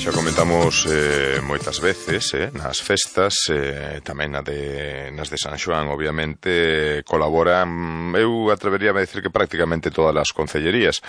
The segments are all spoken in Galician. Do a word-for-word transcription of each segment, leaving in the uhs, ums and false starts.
Xa comentamos eh, moitas veces eh, nas festas, eh, tamén na de, nas de San Xoán, obviamente, colaboran, eu atreveríame a decir que prácticamente todas as concellerías.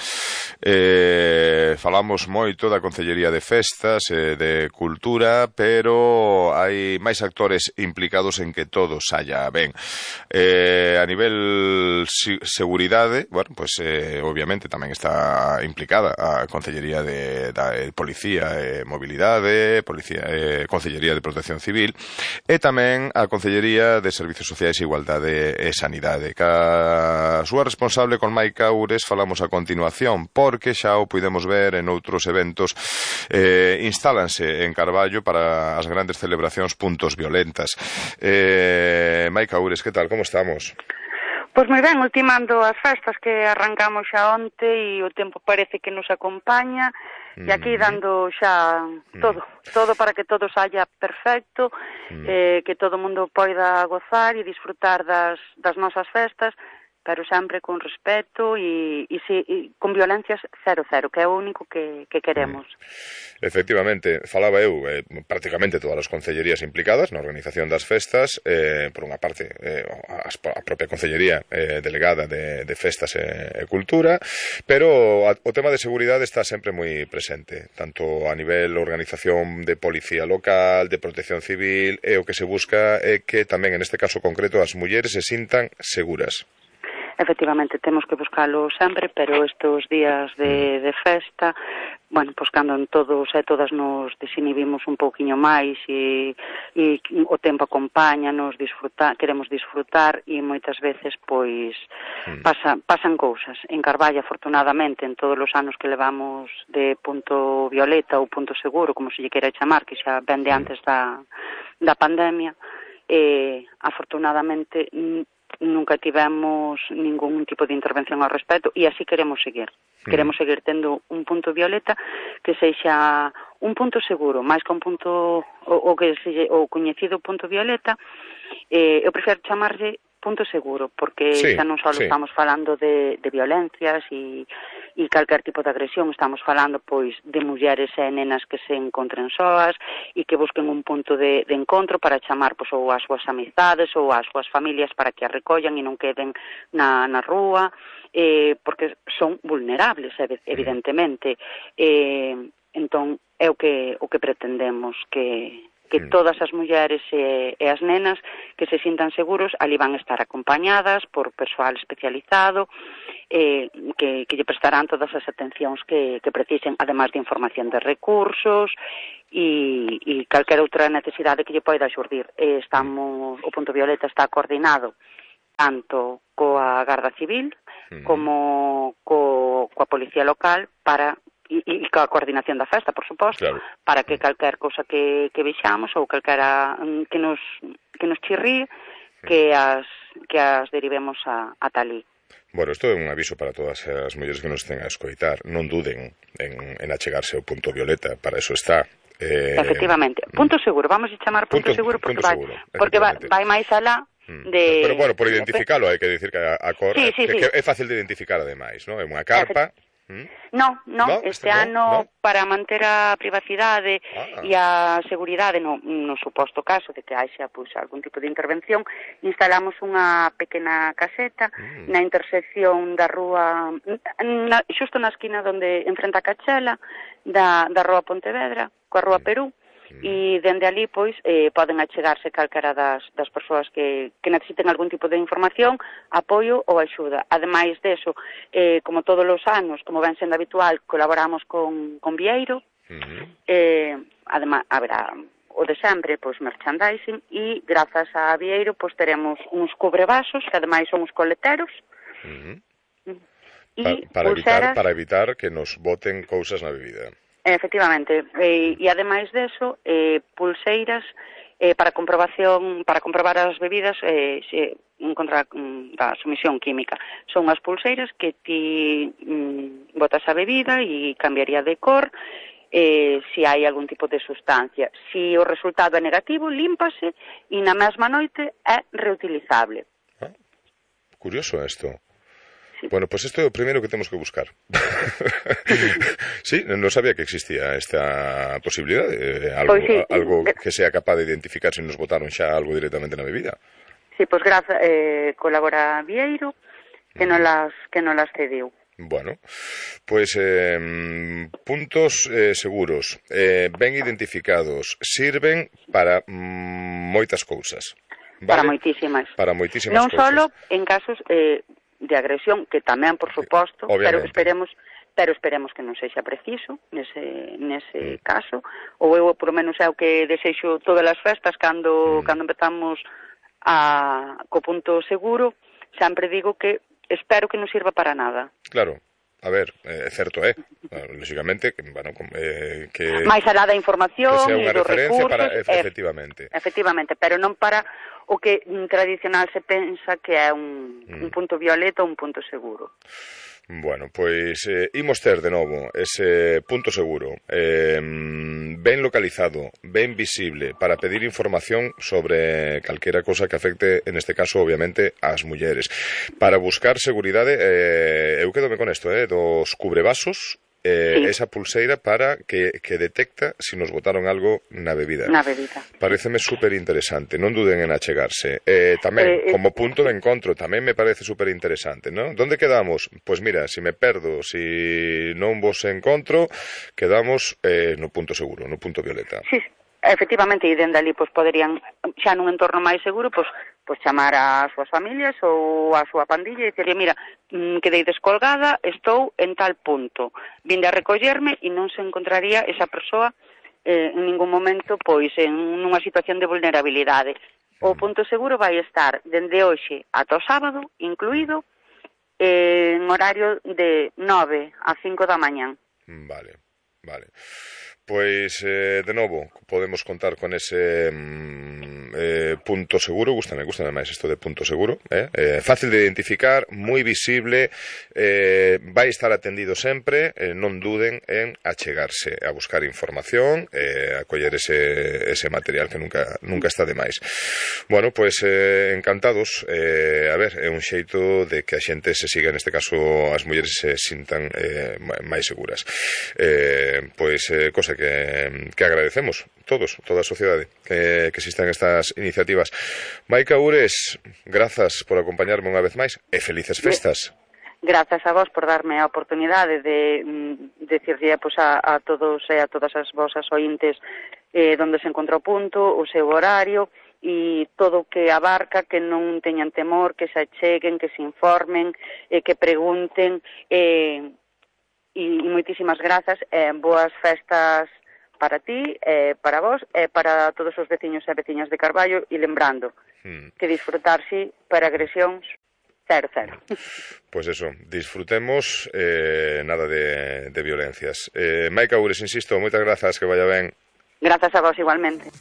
Eh, falamos moito da Concellería de Festas, eh, de Cultura, pero hai máis actores implicados en que todo saia ben. Eh, a nivel si, seguridade, bueno, pues eh, obviamente tamén está implicada a Concellería de, da de Policía e eh, Mobilidade, Policía, eh, Concellería de Protección Civil e tamén a Concellería de Servizos Sociais, Igualdade e Sanidade. Ca súa responsable con Maica Ures falamos a continuación, porque xa o pudemos ver en outros eventos, eh, instálanse en Carballo para as grandes celebracións puntos violentas. Eh, Maica Ures, que tal? Como estamos? Pois moi ben, ultimando as festas que arrancamos xa onte e o tempo parece que nos acompaña e aquí dando xa todo, todo para que todo saia perfecto, eh, que todo o mundo poida gozar e disfrutar das, das nosas festas, pero sempre con respeto e, e, si, e con violencias cero cero, que é o único que, que queremos. Efectivamente, falaba eu, eh, prácticamente todas as concellerías implicadas na organización das festas, eh, por unha parte eh, a, a propia concellería eh, delegada de, de festas e, e cultura, pero a, o tema de seguridade está sempre moi presente, tanto a nivel organización de policía local, de protección civil, e o que se busca é que tamén en este caso concreto as mulleres se sintan seguras. Efectivamente, temos que buscalo sempre, pero estes días de, de festa, bueno, pois cando todos e todas nos desinhibimos un pouquiño máis e, e o tempo acompaña, nos disfrutar, queremos disfrutar e moitas veces, pois, pasa, pasan cousas. En Carballo, afortunadamente, en todos os anos que levamos de punto violeta ou punto seguro, como se lle queira chamar, que xa ven de antes da, da pandemia, eh, afortunadamente, nunca tivemos ningún tipo de intervención ao respecto e así queremos seguir. Queremos seguir tendo un punto violeta que sexa un punto seguro, máis que un punto o, o que se, o coñecido punto violeta, eh, eu prefiro chamarlle punto seguro, porque sí, xa non só sí. estamos falando de, de violencias e, e calquer tipo de agresión, estamos falando pois de mulleres e nenas que se encontren soas e que busquen un punto de, de encontro para chamar pois, ou as súas amizades ou as súas familias para que as recollan e non queden na, na rúa, eh, porque son vulnerables, evidentemente. Eh, entón, é o que, o que pretendemos, que... que todas as mulleres e, e as nenas que se sintan seguros ali van a estar acompañadas por persoal especializado eh, que, que lle prestarán todas as atencións que, que precisen, además de información de recursos e, e calquera outra necesidade que lle poida xurdir. Eh, estamos, o Punto Violeta está coordinado tanto coa Garda Civil como co, coa Policía Local para e, e coa coordinación da festa, por suposto, claro, para que calquer cousa que, que vexamos ou calquera que nos, que nos chirríe, que as, que as derivemos a, a talí. Bueno, isto é un aviso para todas as mulleres que nos estén a escoitar. Non duden en, en achegarse ao Punto Violeta, para eso está. Eh, Efectivamente. Punto seguro, vamos a chamar punto, punto seguro porque, punto vai, seguro, porque vai, vai máis alá de... Pero, bueno, por identificalo, hai que dicir que a, a cor... Sí, sí, que, sí. que é fácil de identificar, ademais, non? É unha carpa... ¿Mm? No, no, no, este ano, no, no, para manter a privacidade ah. e a seguridade, no, no suposto caso de que haxa pues, algún tipo de intervención, instalamos unha pequena caseta mm. na intersección da rúa, na, xusto na esquina donde enfrenta a Cachela, da, da rúa Pontevedra, coa rúa Perú, e dende ali, pois, eh, poden achegarse calquera das, das persoas que, que necesiten algún tipo de información, apoio ou axuda. Ademais deso, eh, como todos os anos, como ven sendo habitual, colaboramos con, con Vieiro, uh-huh. eh, ademais, haberá o de sempre, pois, merchandising, e grazas a Vieiro, pois, teremos uns cubrevasos, que ademais son os coleteros, uh-huh. e pa, para, evitar, para evitar que nos boten cousas na bebida. Efectivamente, e, e ademais deso, eh, pulseiras eh, para comprobación, para comprobar as bebidas eh, se, en contra da sumisión química. Son as pulseiras que ti mm, botas a bebida e cambiaría de cor eh, se hai algún tipo de sustancia. Se o resultado é negativo, límpase e na mesma noite é reutilizable. Ah, curioso isto. sí. Bueno, pues isto é o primeiro que temos que buscar. Sí, non sabía que existía esta posibilidad, eh, algo, Pois sí, algo que sea capaz de identificar se nos botaron xa algo directamente na bebida. Sí, pois graza, eh, colabora Vieiro, que non las, que non las cediu. Bueno, pois eh, puntos eh, seguros, eh, ben identificados, sirven para mm, moitas cousas. ¿Vale? Para moitísimas. Para moitísimas non cousas. solo en casos eh, de agresión, que tamén, por suposto, pero esperemos pero esperemos que non sexa preciso nese, nese mm. caso, ou eu, por lo menos, é o que desexo todas as festas, cando, mm. cando empezamos a, co punto seguro, sempre digo que espero que non sirva para nada. Claro. A ver, é eh, certo, é, eh? lógicamente, que, bueno, eh, que... máis alá da información e dos recursos... Para, efectivamente. Eh, efectivamente, pero non para o que tradicional se pensa que é un, mm. un punto violeta ou un punto seguro. Bueno, pois eh, imos ter de novo ese punto seguro eh, ben localizado, ben visible para pedir información sobre calquera cosa que afecte, en este caso, obviamente, ás mulleres. Para buscar seguridade, eh, eu quedome con isto, eh, dos cubrevasos, eh, sí. esa pulseira para que, que detecta se si nos botaron algo na bebida. Na bebida. Pareceme super interesante, non duden en achegarse. Eh, tamén, eh, como punto de encontro, tamén me parece super interesante, ¿no? Donde quedamos? Pois mira, se si me perdo, se si non vos encontro, quedamos eh, no punto seguro, no punto violeta. Sí, efectivamente, e dende ali pois poderían, xa nun entorno máis seguro, pois pois chamar ás súas familias ou á súa pandilla e dicirle, mira, quedei descolgada, estou en tal punto, vinde a recollerme e non se encontraría esa persoa eh, en ningún momento pois en nunha situación de vulnerabilidade. O punto seguro vai estar dende hoxe ata o sábado, incluído, eh, en horario de nove a cinco da mañán. Vale, vale. Pois, eh, de novo, podemos contar con ese mm, eh, punto seguro, gústame, gústame máis isto de punto seguro, eh? Eh, fácil de identificar, moi visible, eh, vai estar atendido sempre, eh, non duden en achegarse a buscar información, eh, a coller ese, ese material que nunca, nunca está de máis. Bueno, pois, eh, encantados, eh, a ver, é un xeito de que a xente se siga, neste caso, as mulleres se sintan eh, máis seguras. Eh, pois, eh, cosa que, que agradecemos todos, toda a sociedade que, que existan estas iniciativas. Maica Ures, grazas por acompañarme unha vez máis e felices festas. Grazas a vos por darme a oportunidade de mm, decirlle pues, a, a todos e a todas as vosas ointes eh, donde se encontra o punto, o seu horario e todo o que abarca, que non teñan temor, que se acheguen, que se informen, eh, que pregunten, eh, e moitísimas grazas, eh, boas festas para ti, eh, para vos, e eh, para todos os veciños e veciñas de Carballo, e lembrando mm. que disfrutarse para agresións cero, cero. Pois eso, disfrutemos, eh, nada de, de violencias. Eh, Maica Ures, insisto, moitas grazas, que vaya ben. Grazas a vos igualmente.